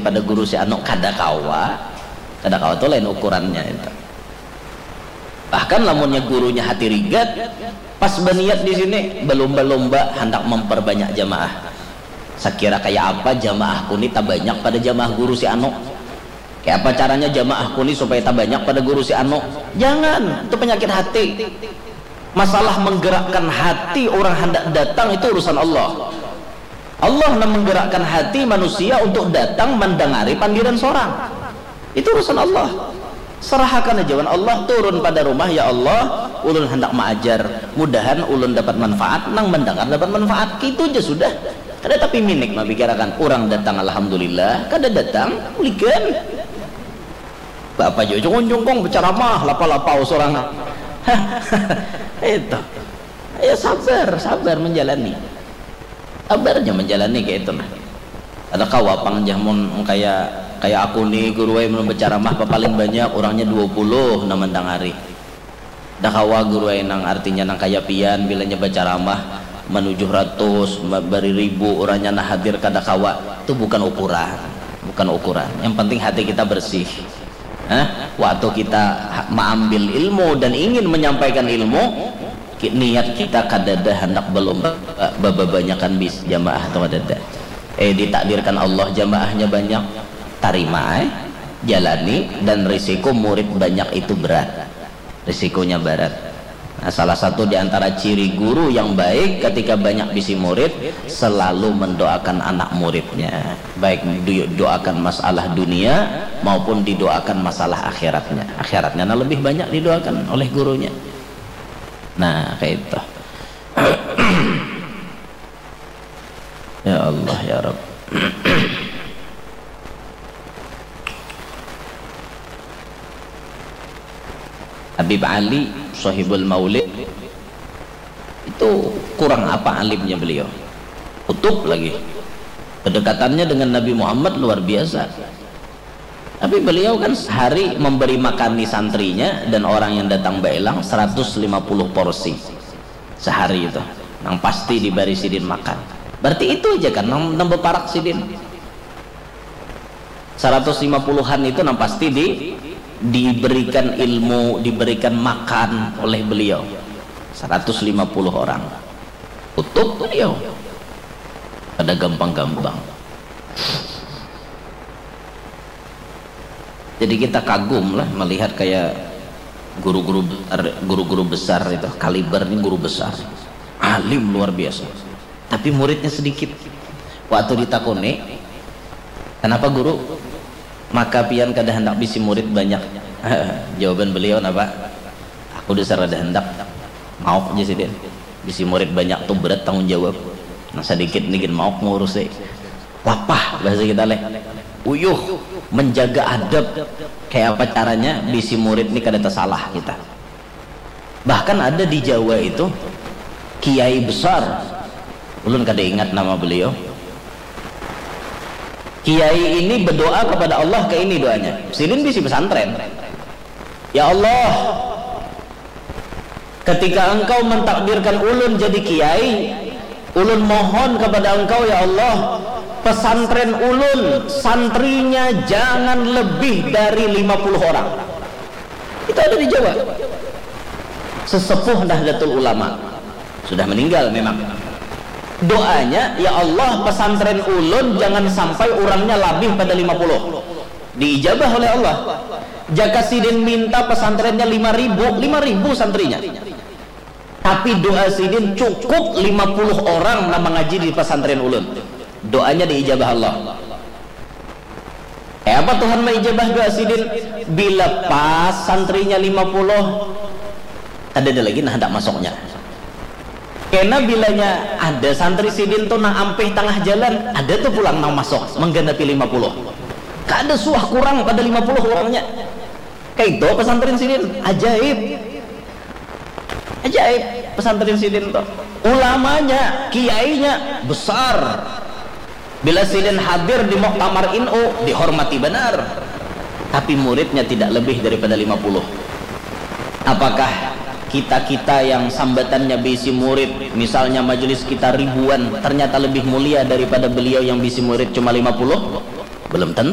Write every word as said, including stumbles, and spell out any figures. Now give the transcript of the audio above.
pada guru si anu, kada kawa. Kada kawa tu lain ukurannya itu. Bahkan lamunnya gurunya hati rigat, pas baniat di sini balumba-lumba handak memperbanyak jamaah. Sakira kaya apa jamaahku ni tabanyak pada jamaah guru si anu? Kaya apa caranya jamaahku ni supaya tabanyak pada guru si anu? Jangan, itu penyakit hati. Masalah menggerakkan hati orang hendak datang itu urusan Allah. Allah nang menggerakkan hati manusia untuk datang mandangari pandiran sorang. Itu urusan Allah. Serahakan aja wan Allah, turun pada rumah, "Ya Allah, ulun handak maajar. Mudahan ulun dapat manfaat, nang mandangar dapat manfaat." Kitu ja sudah. Kada tapi minik mapikirakan, urang datang alhamdulillah, kada datang, bulikan. Baapa jua jungkung-jungkung bacaramah, lapa-lapau sorangan. Itu. Ya sabar, sabar menjalani. Sabar aja menjalani kaya itu nah. Kada kawa pang jar mun kaya, kaya aku ni guru ai mun bacaramah papaling banyak urangnya dua puluh nang mandangari. Kada kawa guru ai nang artinya nang kaya pian bilanya bacaramah manujuh ratus, ma-, bariribu urangnya nang hadir kada kawa. Itu bukan ukuran. Bukan ukuran. Yang penting hati kita bersih. Hah? Waktu kita ha-, maambil ilmu dan ingin menyampaikan ilmu, ki-, niat kita kadada handak balumba, ba-, babanyakan bis jamaah atau kadada. Eh, ditakdirkan Allah jamaahnya banyak, tarima, eh, jalani, dan risiko murid banyak itu berat. Risikonya berat. Nah, salah satu di antara ciri guru yang baik ketika banyak bisi murid, selalu mendoakan anak muridnya. Baik didoakan masalah dunia maupun didoakan masalah akhiratnya. Akhiratnya nah lebih banyak didoakan oleh gurunya. Nah, kayak itu. Ya Allah, ya Rabb. Habib Ali, Sohibul Maulid, itu kurang apa alimnya beliau? Kutub lagi. Kedekatannya dengan Nabi Muhammad luar biasa. Tapi beliau kan sehari memberi makani santrinya dan orang yang datang bailang seratus lima puluh porsi sehari itu. Nang pasti dibari sidin makan. Berarti itu aja kan nang, nang beparak sidin. Seratus lima puluhan itu nang pasti di, diberikan ilmu, diberikan makan oleh beliau. Seratus lima puluh orang. Kutub beliau. Kada gampang-gampang. Jadi kita kagum lah melihat kayak guru-guru besar, guru-guru besar itu, kaliber ini guru besar, alim luar biasa, tapi muridnya sedikit. Waktu ditakuni, "Kenapa guru? Maka pian kada hendak bisi murid banyak?" Jawaban beliau napa? "Aku dasar kada hendak, mauk aja sidin. Bisi murid banyak tu berat tanggung jawab. Nah, sedikit ni gin mauk ngurusi." Lapah bahasa kita leh. Uyuh, menjaga adab. Kayak apa caranya bisi murid ni kada tersalah kita. Bahkan ada di Jawa itu kiai besar. Ulun kada ingat nama beliau. Kiai ini berdoa kepada Allah, kayak ini doanya. Sidin bisi pesantren. "Ya Allah, ketika Engkau mentakdirkan ulun jadi kiai, ulun mohon kepada Engkau, ya Allah, pesantren ulun, santrinya jangan lebih dari lima puluh orang." Itu ada di Jawa. Sesepuh Nahdlatul Ulama. Sudah meninggal memang. Doanya, "Ya Allah, pesantren ulun jangan sampai urangnya labih pada lima puluh." Diijabah oleh Allah. Jaka sidin minta pesantrennya lima ribu, lima ribu santrinya. Tapi doa sidin cukup lima puluh orang nang mangaji di pesantren ulun. Doanya diijabah Allah. Eh, apa Tuhan maijabah doa sidin? Bila pas santrinya lima puluh, kadada lagi nang handak masuknya. Kena bilanya ada santri sidin tu nang ampih tangah jalan, ada tu pulang nang masuk, mengganapi lima puluh. Kada suah kurang pada lima puluh urangnya. Kayak itu pesantren sidin, ajaib. Ajaib, pesantren sidin tu. Ulamanya, kiainya, besar. Bila sidin hadir di muktamar nu, dihormati banar. Tapi muridnya tidak lebih daripada lima puluh. Apakah kita-kita yang sambatannya bisi murid, misalnya majelis kita ribuan, ternyata lebih mulia daripada beliau yang bisi murid cuma lima puluh? Belum tentu.